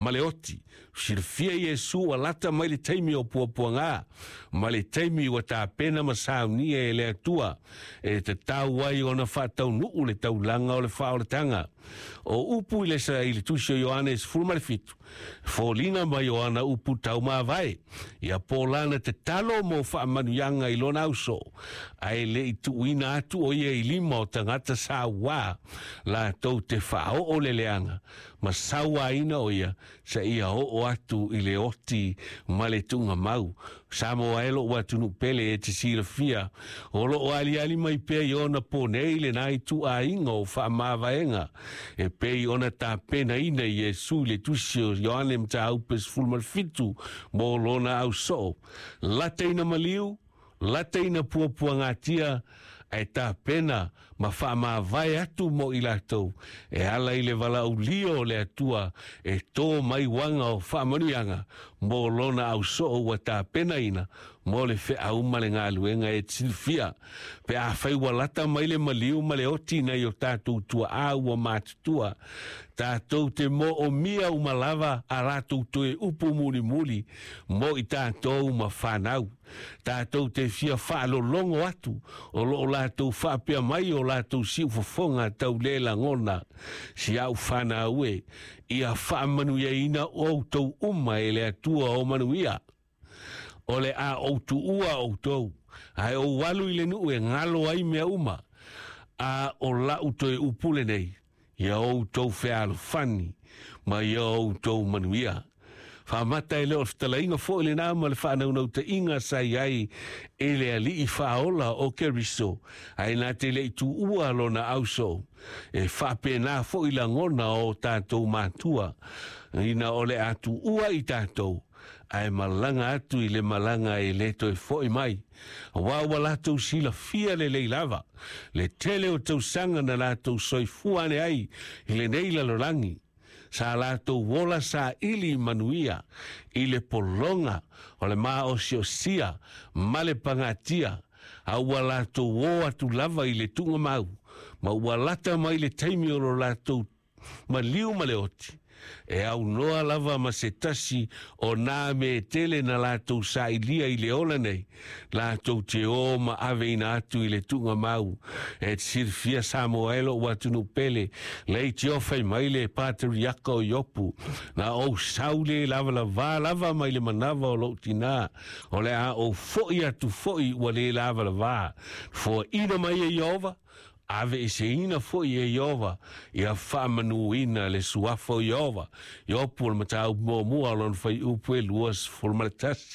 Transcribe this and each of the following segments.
Ma le oti. Silafia Iesu ua lata mai le taimi o puapuaga, ma le taimi ua tapena ma saunia e le Atua e tatau ai ona faataunuu le taulaga o le faaolataga. O upu i le sa i le tusi o Ioane 17, foliga mai o ana upu taumavae, ia po lana tatalo mo faamanuiaga i lona ausoo, ae le i tuuina atu o ia i lima o tagata sauā latou te faaoo le leaga ma sauaina o ia seia oo atu i le oti ma le tuugamau. Samoa e lou atunuu pele e te silafia, o loo aliali mai pea i ona po nei lena ituaiga o faamavaega e pei ona tapenaina Iesu i le tusi o Ioane Mataupu 17 mo lona ausoo. Lata ina maliu, lata ina puapuagatia, ae tapena ma faamavae atu mo i latou e ala i le valaaulia o le Atua e tō mai uaga o faamanuiaga mo lona ausoo ua tapenaina mo le feau ma le galuega e silafia. Pe afai ua lata mai le maliu ma le oti nai o tatou tuaa ua matutua, tatou te moomia uma lava a latou toe upu mulimuli mo i tatou ma fanau. Tatou te fia faalologo atu o loo latou faapea mai o latou siufofoga tau le lagona. Si au fanau e, ia faamanuiaina outou uma e le Atua o manuia. O le a ou tuua outou, ae ou alu i le nuu e galo ai mea uma, a o lau toe upu lenei, ia outou fealofani ma ia outou manuia. Faamata e le o le fetalaiga foi lena ma le faanaunautaiga sa i ai e le alii faaola o Keriso, ae na te le i tuua lona ausoo. E faapena foi lagona o tatou matua, ina o le a tuua i tatou, ae malaga atu i le malaga e le toe foi mai. Aua ua latou silafia lelei lava, le tele o tausaga na latou soifua ane ai i lenei lalolagi, sa latou ola saili manuia i le pologa o le maosiosia ma le pagatia, a ua latou o atu lava i le tuugamau, ma ua lata mai le taimi o lo latou maliu ma le oti, e aunoa lava ma se tasi o nā me tele na latou sailia i le ola nei, latou te o ma aveina atu i le tuugamau. E te silafia Samoa e lou atunuu pele, leitioa fai mai le patriaka o Iopu, na ou sau le lavalavā lava mai le manava o lou tinā, o le a ou foi atu foi ua le lavalavā. Foaina mai e Ieova, aveeseina foi e Ieova, ia faamanuina le suafa o Ieova. Iopu o le mataupu muamua o lona fuaiupu e 21.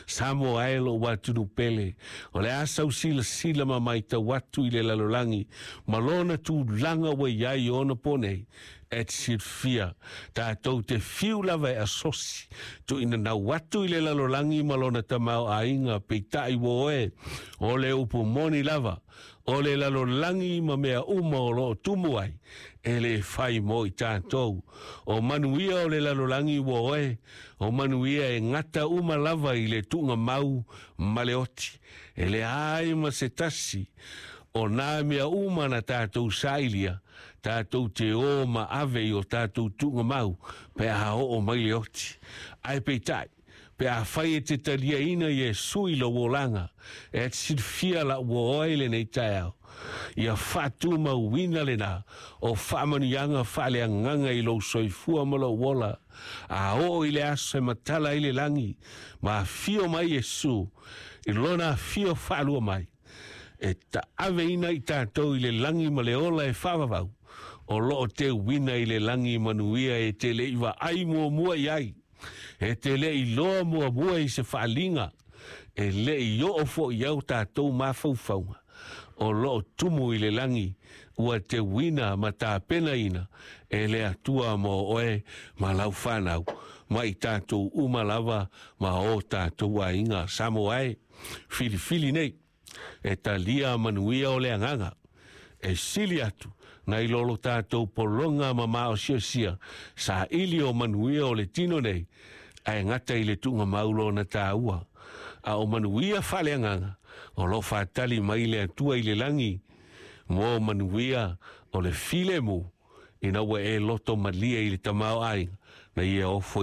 Samoa e lou atunuu pele, o le a sau silasila ma matau atu i le lalolagi ma lona tulaga ua i ai ona po nei, e te silafia, tatou te fiu lava e asosi tuuinanau atu i le lalolagi ma lona tamaoaiga, peitai ua oe o le upu moni lava, o le lalolagi ma mea uma o loo tumu ai, e le fai mo i tatou. O manuia o le lalolagi ua oe, o manuia e gata uma lava i le tuugamau ma le oti. E leai ma se tasi o nā mea uma na tatou sailia, tatou te o ma ave i o tatou tuugamau pe a oo mai le oti. Ae peitai, pe afai e te taliaina Iesu i lou olaga, e te silafia la ua oe lenei taeao, ia faatumauina lena o faamanuiaga faaleagaga i lou soifua ma lou ola, a oo i le aso e matala ai le lagi, ma afio mai Iesu i lona afio faalua mai, e taaveina i tatou i le lagi ma le ola e faavavau, o loo teuina i le lagi manuia e te le i vaai muamua i ai, e te le i loa muamua i se faaliga, e le i oo foi au tatou mafaufauga, o loo tumu i le lagi, ua teuina ma tapenaina e le Atua mo oe ma lau fanau, ma i tatou uma lava ma o tatou aiga. Samoa e, filifili nei, e talia manuia o le agaga, e sili atu nai lo lo tatou pologa ma maosiosia saili o manuia o le tino nei, ae gata i le tuugamau lona taua. A o manuia faaleagaga o loo faatali mai le Atua i le lagi mo manuia o le filemu, ina ua e loto malie i le tamaoaiga na ia ofo.